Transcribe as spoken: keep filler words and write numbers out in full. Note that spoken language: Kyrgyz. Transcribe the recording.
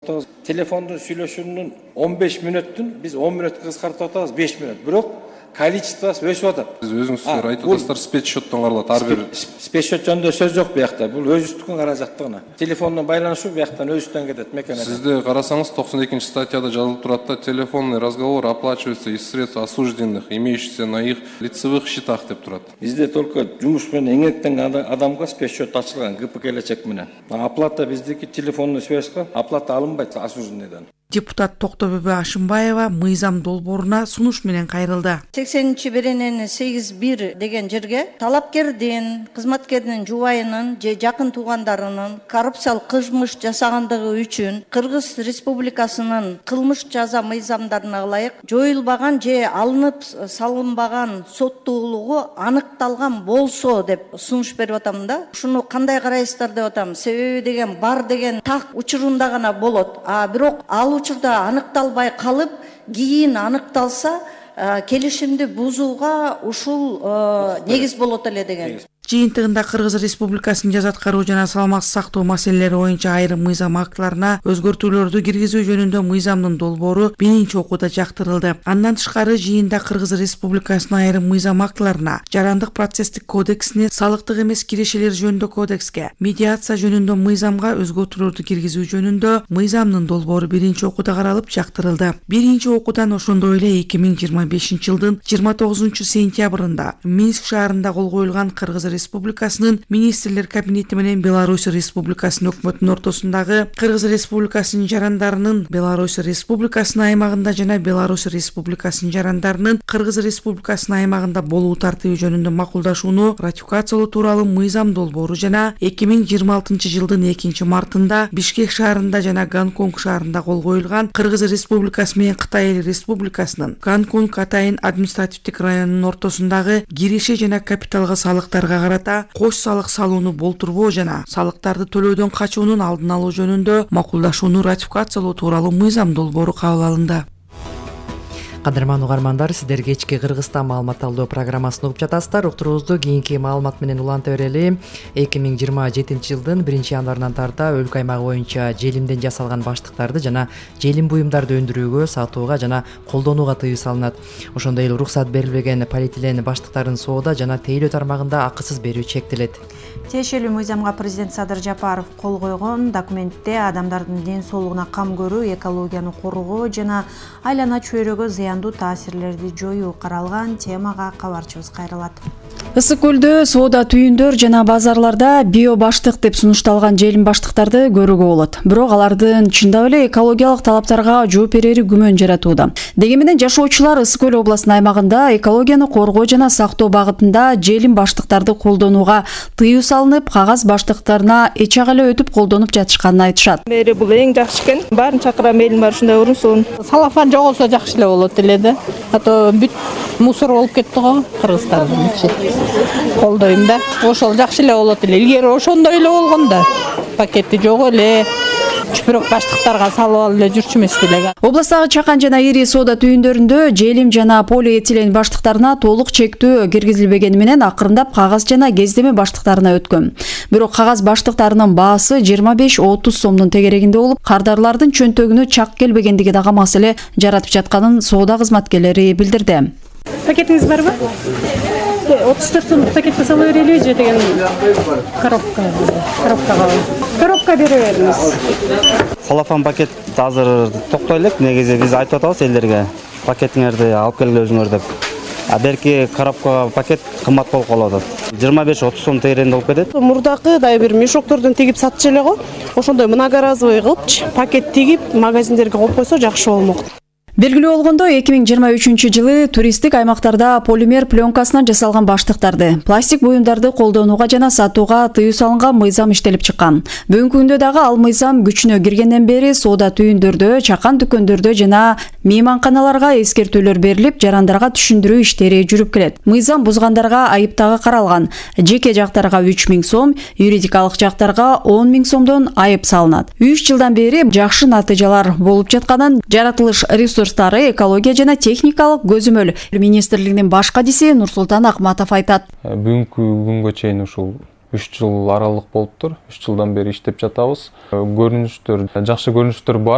Телефондун сүйлөшүүнүн он беш мүнөттүн биз он мүнөткө кыскартып атабыз, беш мүнөт. Бирок количествосы өсүп атат. Сиз өзүңүздөр айтып атасыздар, спецсчеттон каралат ар бир. Спецсчет жөнүндө сөз жок буякта. Бул өзүбүздүн каражаттыгына. Телефондон байланышуу буяктан өзүбүздөн кетет мекеме. Сизде карасаңыз токсон экинчи статьяда жазылып турат да, телефонный разговор оплачивается из средств осужденных, имеющихся на их лицевых счетах деп турат. Бизде только жумуш менен эңектенген адамга спецсчет ачылган гэ пэ келечек менен. Оплата биздики телефонный связьга оплата алынбайт осужденныйдан. Депутат Токтобөбө Ашымбаева мыйзам долбооруна сунуш менен кайрылды. сексенинчи берененин сегиз бир деген жерге талапкердин, кызматкердин жубайынын же жакын туугандарынын коррупциялык кылмыш жасагандыгы үчүн Кыргыз Республикасынын кылмыш жаза мыйзамдарына ылайык жоюлбаган же алынып салынбаган соттуулугу аныкталган болсо деп сунуш берип атам да. Ушуну кандай карайсыздар деп атам. Себеби деген бар деген так учурунда гана болот. А бирок ал учурда аныкталбай калып, кийин аныкталса, келишимди бузууга ушул негиз болот эле деген. Жыйынтыгында Кыргыз Республикасынын жаза аткаруу жана саламатсыз сактоо маселелери боюнча айрым мыйзам актыларына өзгөртүүлөрдү киргизүү жөнүндө мыйзамдын долбоору биринчи окууда жактырылды. Андан тышкары жыйында Кыргыз Республикасынын айрым мыйзам актыларына, жарандык процесстик кодексине, салыктык эмес кирешелер жөнүндө кодекске, медиация жөнүндө мыйзамга өзгөртүүлөрдү киргизүү жөнүндө мыйзамдын долбоору биринчи окууда каралып жактырылды. Биринчи окуудан ошондой эле эки миң жыйырма бешинчи жылдын жыйырма тогузунчу сентябрында Минск шаарында кол коюлган Кыргыз Республикасынын министрлер кабинети менен Беларусь Республикасынын өкмөтүнүн ортосундагы Кыргыз Республикасынын жарандарынын Беларусь Республикасынын аймагында жана Беларусь Республикасынын жарандарынын Кыргыз Республикасынын аймагында болуу тартиби жөнүндө макулдашууну ратификациялоо тууралуу мыйзам долбоору жана эки миң жыйырма алтынчы жылдын экинчи мартында Бишкек шаарында жана Гонконг шаарында кол коюлган Кыргыз Республикасы менен Кытай Эл Республикасынын Гонконг Атайын административдик районунун ортосундагы киреше жана капиталга салыктарга карата кош салык салууну болтурбоо жана салыктарды төлөөдөн качуунун алдын алуу жөнүндө макулдашууну ратификациялоо тууралуу мыйзам долбоору кабыл алынды. Кадырман угармандар, сиздер кечки Кыргызстан маалымат талдоо программасын угуп жатасыздар. Уктуруубузду кийинки маалымат менен уланта берели. эки миң жыйырма жетинчи жылдын биринчи январынан тарта өлкө аймагы боюнча желимден жасалган баштыктарды жана желим буюмдарды өндүрүүгө, сатууга жана колдонууга тыюу салынат. Ошондой эле уруксат берилбеген полиэтилен баштыктарын соода жана тейлөө тармагында акысыз берүү чектелет. Тиешелүү мыйзамга президент Садыр Жапаров кол койгон. Документте адамдардын ден соолугуна кам көрүү, экологияны коргоо жана айлана чөйрөгө зыяндуу таасирлерди жоюу каралган. Темага кабарчыбыз кайрылат. Ысык көлдө соода түйүндөр жана базарларда био баштык деп сунушталган желим баштыктарды көрүүгө болот. Бирок алардын чындап эле экологиялык талаптарга жооп берери күмөн жаратууда. Деги менен жашоочулар Ысык көл областынын аймагында экологияны коргоо жана сактоо багытында желим баштыктарды колдонууга тыюу салынып, кагаз баштыктарына эч ак эле өтүп колдонуп жатышканын айтышат. Мери бул эң жакшы экен. Баарын чакырам, элим бар ушундай урунсун. Салафан жоголсо жакшы эле болот эле да. А то бүт мусор болуп кетти го Кыргызстандын ичи. Колдойм да. Ошол жакшы эле болот эле. Илгери ошондой эле болгон да. Пакети жок эле. Чүпүрөк баштыктарга салып алып эле жүрчү эмес деле. Областагы чакан жана ири соода түйүндөрүндө желим жана полиэтилен баштыктарына толук чектөө киргизилбегени менен акырындап кагаз жана кездеме баштыктарына өткөн. Бирок кагаз баштыктарынын баасы жыйырма беш отуз сомдун тегерегинде болуп, кардарлардын чөнтөгүнө чак келбегендиги дагы маселе жаратып жатканын соода кызматкерлери билдирди. Пакетиңиз барбы? отуз төрт сомдук пакетке салып берели же деген коробка. Коробкага. Коробка бере бериңиз. Салафан пакет азыр токтой элек. Негизи биз айтып атабыз элдерге пакетиңерди алып келгиле өзүңөр деп. А берки коробкага пакет кымбат болуп калып атат. жыйырма беш отуз сом тегерегинде болуп кетет. Мурдакы дай бир мешоктордон тигип сатчу эле го. Ошондой многоразовый кылыпчы пакет тигип магазиндерге коюп койсо жакшы болмок. Белгилүү болгондой, эки миң жыйырма үчүнчү жылы туристтик аймактарда полимер пленкасынан жасалган баштыктарды, пластик буюмдарды колдонууга жана сатууга тыюу салынган мыйзам иштелип чыккан. Бүгүнкү күндө дагы ал мыйзам күчүнө киргенден бери соода түйүндөрдө, чакан дүкөндөрдө жана мейманканаларга эскертүүлөр берилип, жарандарга түшүндүрүү иштери жүрүп келет. Мыйзам бузгандарга айып дагы каралган. Жеке жактарга үч миң сом, юридикалык жактарга он миң сомдон айып салынат. үч жылдан бери жакшы натыйжалар болуп жатканын жаратылыш ресурс экология жана техникалык көзөмөл министрлигинин баш кадиси Нурсултан Акматов айтат. Бүгүнкү күнгө чейин ушул үч жыл аралык болуптур. үч жылдан бери иштеп жатабыз. Көрүнүштөр, жакшы көрүнүштөр бар.